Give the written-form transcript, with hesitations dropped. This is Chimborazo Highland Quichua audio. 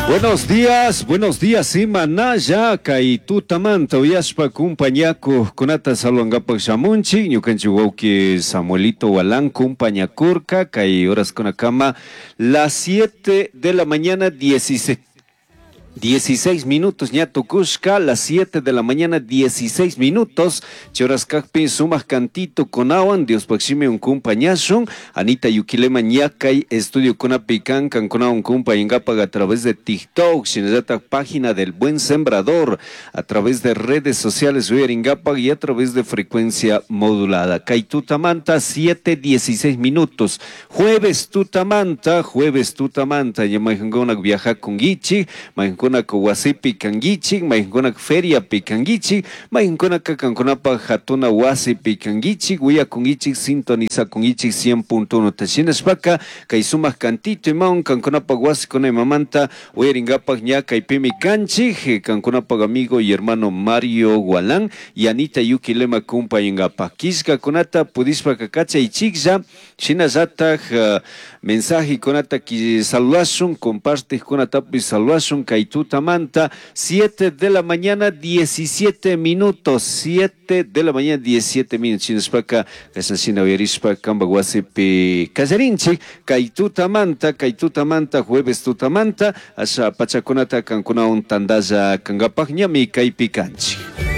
Buenos días, buenos días, imanalla kay tutamanta uyashpa kumpañakuqkunata saludankapak shamunchik ñukanchik wawki Samuelito Walán kumpañakurka kay horaskunakama las 7 de la mañana 16 16 minutos ña tukushka, las 7 de la mañana 16 minutos. Choras kakpi sumaq cantito kunawan Diospaq shimi kumpañashun. Anita Yuquilema ñakay estudio kunapi kan kankunawan kumpañankapak a través de TikTok, shinallatak página del Buen Sembrador, a través de redes sociales uyarinkapak y a través de frecuencia modulada. Kay tutamanta 7:16 minutos. Jueves tutamanta, ña mayqankunak viajakunkichik, mayqankunak wasipi kankichik, mayqankunak feriapi kankichik, mayqankunaka kankunapaq hatuna wasipi kankichik, uyakunkichik, sintonizakunkichik 100.1 ta shinashpaka kay sumaq cantito imawan kankunapaq wasikuna imamanta uyarinkapak ña kaypimi kanchik, kankunapaq amigo y hermano Mario Gualán y Anita Yuquilema kumpañankapak. Killkakunata pudishpaka kachaychiklla, shinallatak mensajekunata saludashun, compartijkunatapis saludashun kay tutamanta 7 de la mañana 17 minutos, 7 de la mañana 17 minutos, shinashpaka kashna shina uyarishpa kanpak wasipi kallarinchik kay tutamanta, kay tutamanta, jueves tutamanta, asha pachakunata kankunawan tandalla kankapak ñami kaypi kanchik.